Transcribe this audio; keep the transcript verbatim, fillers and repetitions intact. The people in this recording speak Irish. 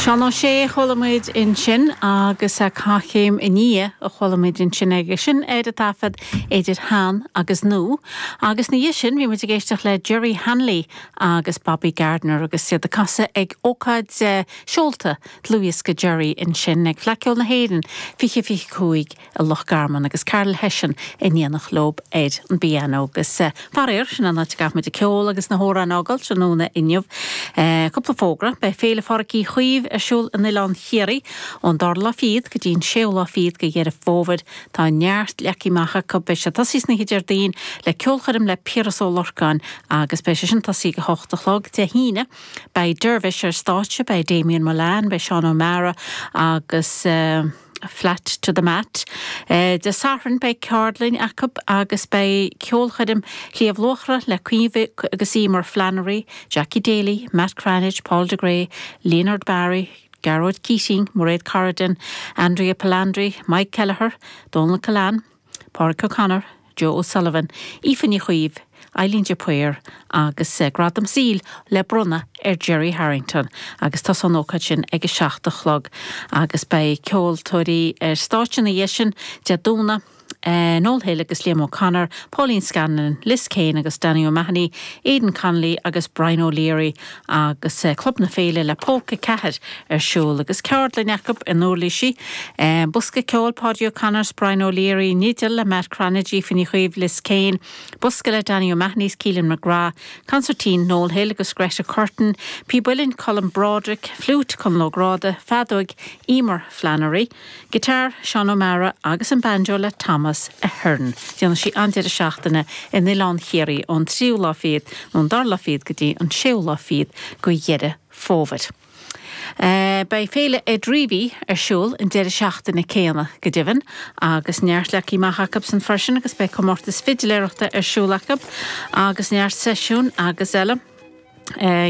Seán Ó Sé a chuala muid ansin agus Caithchéim i nDia a chuala muid ansin aige sin ar an taifead idir shean agus nua. Agus ina dhiaidh sin bhí muid ag éisteacht le Jerry Hanley agus Bobby Gardner agus iad ag casadh ag ócáid eh, seolta dlúthdhiosca Jerry ansin ag Fleadh Cheoil na hÉireann fiche fiche cúig i Loch Garman agus Carol Hession in éineacht leo ar an bpianó agus eh, faraor sin an áit a muid an ceol agus na hamhráin a fhágáil tráthnóna inniu. Eh, cúpla fógra beidh Féile Phádraig Uí Chaoimh ar siúl in Oileán Chiarraí ón dara lá fichead go dtí an séú lá fichead de Dheireadh Fómhair tá neart leagtha amach acu beidh sé tosaithe san oíche Déardaoin le ceolchoirm le Piaras Ó Lorcáin agus beidh sé sin tosaithe ag a hocht a chlog Dé hAoine, beidh Dervish ar stáitse beidh Damien Mullane, beidh Seán O'Mara agus uh, flat to the mat. Uh, Dé Sathairn beidh ceardlann acu agus beidh ceolchoirm Shliabh Luachra le Caoimhe agus Emer Flannery, Jackie Daly, Matt Cranitch, Paul de Grey, Leonard Barry, Gearóid Keating, Mairéad Corrigan, Andrea Palandri, Mike Kelleher, Donald Callan, Pádraig O'Connor, Joe O'Sullivan, Aoife Ní Chaoimh, Eileen de Paor agus uh, Gradam Saoil le bronnadh ar Jerry Harrington agus tá an ócáid sin ag a seacht a chlog agus beidh ceoltóirí ar stáitse ina dhiaidh sin Dé Domhnaigh Uh, Noel Hill agus Liam O'Connor, Pauline Scanlon, Liz Kane agus Danny O'Mahony, Aidan Connolly agus Brian O'Leary agus uh, Club na Féile le Polca ceathair ar siúl agus ceardlann acu in Uirlisí, uh, Bosca ceoil Paddy O'Connor, Brian O'Leary, Nidil le Matt Cranage Finny Chuimh Liz Kane, Bosca le Danny O'Mahony's Keelan McGrath, Concertina Noel Hill agus Greta Curtin, Píb Uilleann Colm Broderick, Flute Conal Ó Gráda, Feadóg Emer Flannery, Guitar Sean O'Mara agus an banjo le Thomas Ahern. Déanann sí an deireadh seachtaine in Oileán Chiarraí ón tríú lá fichead ón dara lá fichead go dtí an séú lá fichead de Dheireadh Fómhair. Uh, Beidh Féile Ed Reavy ar siúl an deireadh seachtaine céanna go deimhin agus neart leagtha amach acu san freisin agus beidh comórtas fidiléireachta ar siúl acu agus neart seisiún agus eile. Uh,